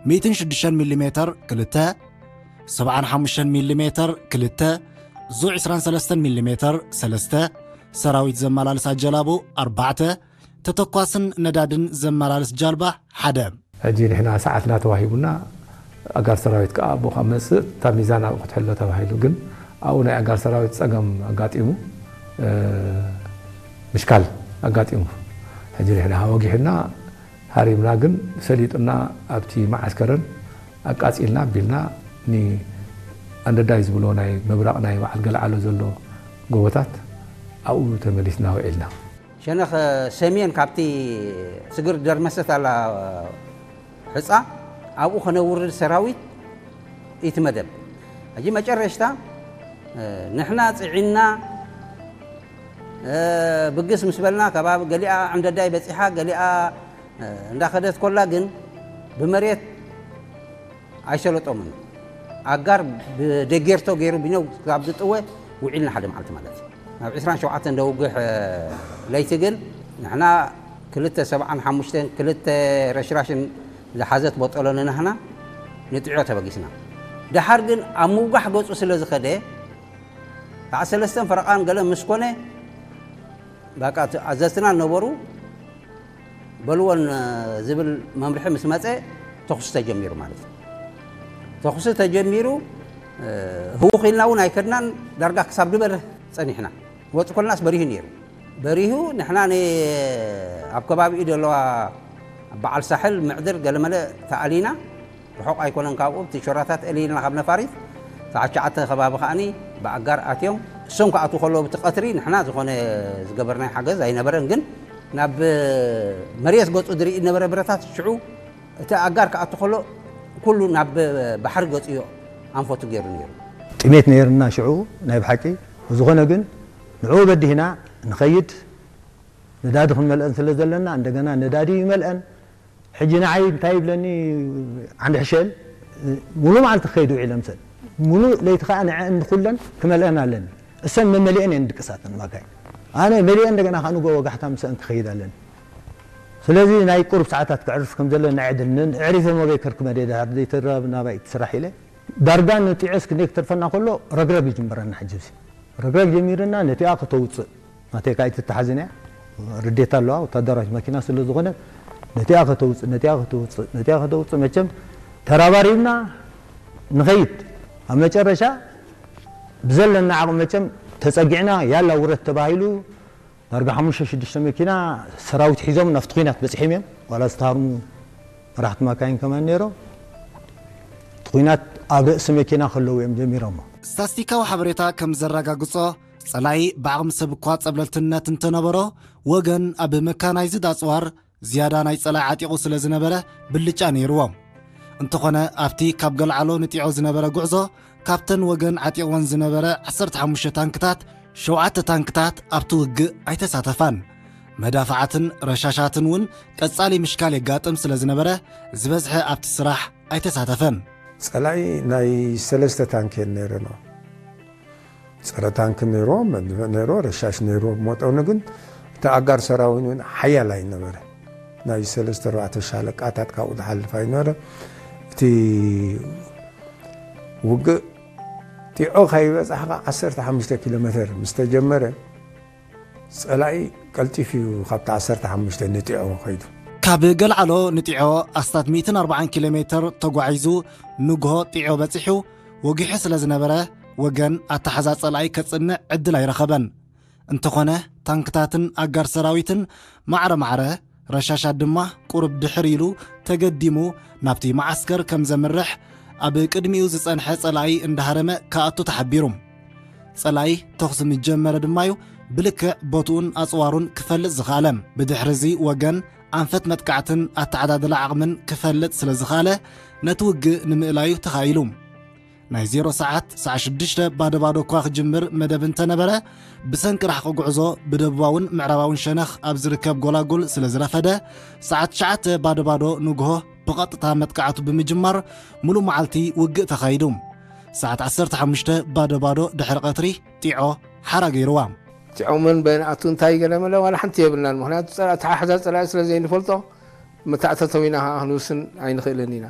ሚእትን ሽዱሽተን ሚሊ ሜተር ክልተ፣ ሰብዓን ሓሙሽተን ሚሊ ሜተር ክልተ፣ ዙ ዕስራን ሰለስተን ሚሊ ሜተር ሰለስተ፣ ሰራዊት ዘመላልሳ ጀላቡ ኣርባዕተ፣ ተተኳስን ነዳድን ዘመላልስ ጃልባ ሓደ። ሕጂ ንሕና ሰዓትና ተዋሂቡና፣ ኣጋር ሰራዊት ከኣ ኣብኡ ካብ መጽእ እታ ሚዛን ኣብኡ ክትሕሎ ተባሂሉ። ግን ኣብኡ ናይ ኣጋር ሰራዊት ጸገም ኣጋጢሙ፣ እ፣ ምሽካል ኣጋጢሙ። ሕጂ ንሕና ወጊሕና ሃሪምና፣ ግን ሰሊጡና ኣብቲ መዓስከርን ኣቃጺልና ኣቢልና፣ ንኣንደዳይ ዝብሎ ናይ ምብራቕ ናይ በዓል ገልዓሎ ዘሎ ጎቦታት ኣብኡ ተመሊስና ውዒልና። ሸነኽ ሰሜን ካብቲ ስግር ደርመሰት ኣላ ሕጻ ኣብኡ ከነውርድ ሰራዊት እቲ መደብ። ሕጂ መጨረሽታ ንሕና ጽዒና ብግስ ምስ በልና ከባቢ ገሊኣ ዕንደዳይ በጺሓ፣ ገሊኣ እንዳኸደት ኮላ ግን ብመሬት ኣይሰለጦምን። ኣጋር ብደጌርቶ ገይሩ ቢነው ክሳብ ዝጥወ ውዒልና ሓደ መዓልቲ ማለት እዩ። ናብ ዕስራን ሸውዓተን ደውግሕ ለይቲ ግን ንሕና ክልተ ሰብዓን ሓሙሽተን ክልተ ረሽራሽን ዝሓዘት ቦጠሎ ንናህና ንጥዕዮ ተበጊስና። ደሓር ግን ኣብ ምውጋሕ ገጹ ስለ ዝኸደ ከዓ ሰለስተን ፈረቓን ገለ ምስ ኮነ በቃ እቲ ኣዘዝትና ነበሩ በልዎን ዝብል መምርሒ ምስ መጸ ተኹሲ ተጀሚሩ ማለት እዩ። ተኹሲ ተጀሚሩ ህውኽ ኢልና እውን ኣይከድናን። ዳርጋ ክሳብ ድበርህ ጸኒሕና። ወጽእ ኮልናስ በሪሁ ነይሩ። በሪሁ ንሕና ን-፣ ኣብ ከባቢኡ ዘለዋ በዓል ሳሕል ምዕድር ገለመለ ተኣሊና። ርሑቕ ኣይኮነን ካብኡ፣ እቲ ሾራታት እልይልና ካብ ነፋሪት ሰዓት ትሽዓተ ከባቢ ከኣኒ ብኣጋር ኣትዮም። እሶም ክኣትዉ ከለዉ ብቲ ቀትሪ ንሕና ዝኾነ ዝገበርናዮ ሓገዝ ኣይነበረን፣ ግን ናብ መሬት ገጹ ዝርኢ ነበረ ብረታት ሽዑ እቲ ኣጋር ክኣቱ ከሎ ኩሉ ናብ ባሕሪ ገጹ እዩ ኣንፈቱ ገይሩ ነይሩ። ጥሜት ነይርና ሽዑ ናይ ብሓቂ። ብዝኾነ ግን ንዕኡ በዲህና ንኸይድ ነዳዲ ክንመልአን ስለ ዘለና እንደገና ነዳዲ ይመልአን። ሕጂ ንዓይ እንታይ ይብለኒ ዓንዲ ሕሸል፣ ሙሉ መዓልቲ ክኸይድ ውዒለ ምሰን፣ ሙሉ ለይቲ ከኣ ንዐ እንኩለን ክመልአን ኣለኒ። እሰን መመሊአን እየን ድቅሳተን ማካይ። ኣነ መሊአን እንደገና ከኣ ንጎ ወጋሕታ ምሰን ክኸይድ ኣለኒ። ስለዚ ናይ ቁሩብ ሰዓታት ክዕርፍ ከም ዘለኒ ዕድል ንን-፣ ዕሪፈ መበይ ከርክመ ደይ ደሃር ዘይተራብ ናባይ ትስራሕ ኢለ። ዳርጋ ንጢዖስ ክንደይ ክተርፈና ከሎ ረግረግ ይጅምረና ሕጂ እዚ። ረግረግ ጀሚርና ነቲኣ ከተውፅእ። ናተይ ካይ ትተሓዝን እያ። ርዴት ኣለዋ፣ ወታደራዊት መኪና ስለ ዝኾነ ነቲኣ ከተውፅእ፣ ነቲኣ ከተውፅእ፣ ነቲኣ ከተውፅእ። መቸም ተራባሪብና ንኸይድ። ኣብ መጨረሻ ብዘለና ዓቕሚ መቸም ተፀጊዕና ያላ ውረት ተባሂሉ ዳርጋ ሓሙሽተ ሽዱሽተ መኪና ሰራዊት ሒዞም ናብቲ ኲናት በፂሖም እዮም። ዋላ ዝተሃርሙ መራሕቲ ማካይን ከማን ነይሮም። እቲ ኲናት ኣብ ርእሲ መኪና ከለዉ እዮም ጀሚሮሞ። ስታስቲካዊ ሓበሬታ ከም ዘረጋግጾ፣ ጸላኢ ብዓቕሚ ሰብ እኳ ጸብለልትነት እንተነበሮ፣ ወገን ኣብ መካናይዝድ ኣጽዋር ዝያዳ ናይ ጸላኢ ዓጢቑ ስለ ዝነበረ ብልጫ ነይርዎ። እንተኾነ፣ ኣብቲ ካብ ገልዓሎ ንጢዖ ዝነበረ ጉዕዞ፣ ካብተን ወገን ዓጢቕወን ዝነበረ ዓሰርተ ሓሙሽተ ታንክታት፣ ሸውዓተ ታንክታት ኣብቲ ውግእ ኣይተሳተፋን። መዳፍዓትን ረሻሻትን እውን ቀጻሊ ምሽካል የጋጥም ስለ ዝነበረ፣ ዝበዝሐ ኣብቲ ስራሕ ኣይተሳተፈን። ጸላኢ ናይ ሰለስተ ታንክ እየን ነይረን። ጸረ ታንክ ነይርዎ፣ መድፍዕ ነይርዎ፣ ረሻሽ ነይርዎ። ብመጠኑ ግን እቲ ኣጋር ሰራዊት እውን ሓያል ኣይነበረ። ናይ ሰለስተ ኣርባዕተ ሻለቃታት ካብኡ ዝሓልፍ ኣይነበረ። እቲ ውግእ ጢዖ ከይበጻሕካ ዓሰርተ ሓሙሽተ ኪሎ ሜተር ምስ ተጀመረ፣ ጸላኢ ቀልጢፉ እዩ ካብቲ ዓሰርተ ሓሙሽተ ንጢዖ ከይዱ። ካብ ገልዓሎ ንጢዖ ኣስታት ሚእትን ኣርባዓን ኪሎ ሜተር ተጓዒዙ ንግሆ ጢዖ በጺሑ ወጊሑ ስለ ዝነበረ፣ ወገን ኣተሓዛ ጸላኢ ከጽንዕ ዕድል ኣይረኸበን። እንተኾነ፣ ታንክታትን ኣጋር ሰራዊትን ማዕረ ማዕረ፣ ረሻሻት ድማ ቁሩብ ድሕር ኢሉ ተገዲሙ ናብቲ መዓስከር ከም ዘምርሕ፣ ኣብ ቅድሚኡ ዝጸንሐ ጸላኢ እንዳሃረመ ክኣቱ ተሓቢሩ። ጸላኢ ተኹሲ ምስ ጀመረ ድማ'ዩ ብልክዕ ቦትኡን ኣጽዋሩን ክፈልጥ ዝኸኣለ። ብድሕሪ እዚ ወገን ኣንፈት መጥቃዕትን ኣተዓዳድላ ዓቕምን ክፈልጥ ስለ ዝኸኣለ፣ ነቲ ውግእ ንምእላዩ ተኻኢሉ። ናይ ዜሮ ሰዓት፣ ሰዓት ሽዱሽተ ባዶ ባዶ እኳ ክጅምር መደብ እንተነበረ፣ ብሰንኪ ርሕቂ ጉዕዞ ብደቡባውን ምዕራባውን ሸነኽ ኣብ ዝርከብ ጎላጉል ስለ ዝረፈደ፣ ሰዓት ትሽዓተ ባዶ ባዶ ንግሆ ብቐጥታ መጥቃዕቱ ብምጅማር፣ ሙሉእ መዓልቲ ውግእ ተኻይዱ። ሰዓት ዓሰርተ ሓሙሽተ ባዶ ባዶ ድሕሪ ቀትሪ ጢዖ ሓራ ገይርዋ። ጢዖ መን በየን ኣቱ እንታይ ገለ መለ ዋላ ሓንቲ የብልናን። ምኽንያቱ ጸላ-፣ ኣተሓሕዛ ጸላኢ ስለ ዘይንፈልጦ፣ መታእተተዊና ከኣ ክንውስን ኣይንኽእልን ኢና።